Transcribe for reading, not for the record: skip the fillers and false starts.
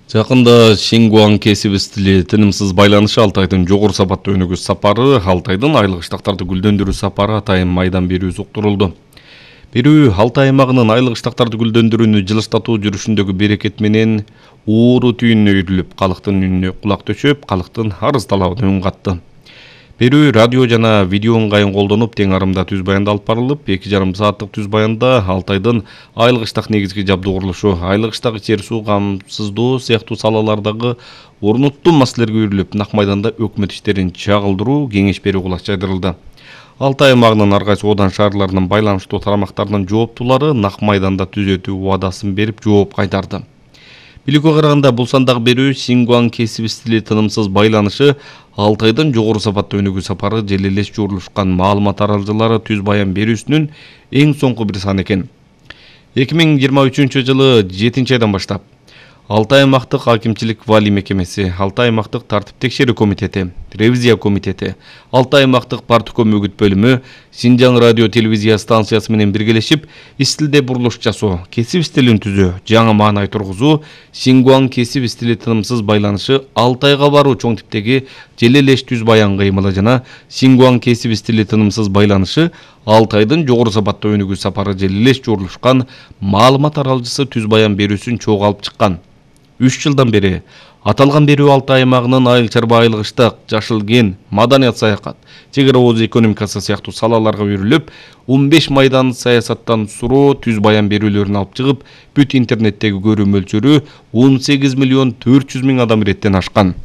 Жакында Шингуан кесиби стили тынымсыз байланышы Алтайдын жогору сапаттуу өнүгүү сапары, Алтайдын айлык штактарды гүлдөндүрүү сапары атайын майдан берүү уктурулду. Берүү Алтай аймагынын айлык штактарды гүлдөндүрүүнү жылыштатуу жүрүшүндөгү берекет менен ууру түйүнүнө үйрүлүп, калктын үнүнө кулак төшөп, калктын арыз талабына үн катты. Берүү радио жана видео ыңгайын колдонуп, тең арымда түз баянда алып барылып, 2,5 сааттык түз баянда Алтайдын айлык штак негизги жабдуу курулушу, айлык штак жер суу камсыздоо сыяктуу салалардагы орнуттуу маселелерге үйрүлүп, нак майданда өкмөт иштерин чагылдыруу, кеңеш берүү кулак жайдырылды. Алтай аймагынын ар кайсы одан шаарларынын байланыштуу тарамактарынын жооптуулары нак майданда түзөтүү убадасын берип жооп кайтарды. Биликке караганда бул сандагы берүү Шингуан кесиби стили тынымсыз байланышы Алтайдын жогору сапаттуу өнүгүү сапары желелеш журулушкан маалымат таралжылары түз баян берүүсүнүн эң соңку бир саны экен. 2023 жылы 7-айдан баштап Алтай аймактык акимчилик вали мекемеси, Алтай аймактык тартип текшерүү комитети, ревизия комитети, Алтай аймактык партком үгүт бөлүмү, Синжаң радио телевизия станциясы менен биргелешип, стилде бурулуш жасоо, кесип стилин түзөө, жаңы маанай тургузуу, Шингуан кесип стили тынымсыз байланышы Алтайга баруу чоң типтеги желелеш түз баян кыймылы жана Шингуан кесип стили тынымсыз байланышы Алтайдын жогору сапаттуу өнүгүү сапары желелеш журулушкан маалымат таралжысы түз баян берүүсүн чогуу алып чыккан. 3 жылдан бери аталган берүү Алтай аймагынын айыл чарба айлык штак, жашыл кен, маданият саякат, чек ара ооз экономикасы сыяктуу салаларга үйрүлүп, 15 майдан саясаттан суроо түз баян берүүлөрүн алып чыгып, бүт интернеттеги көрүү мөлчөрү 18,4 миллион адам иреттен ашкан.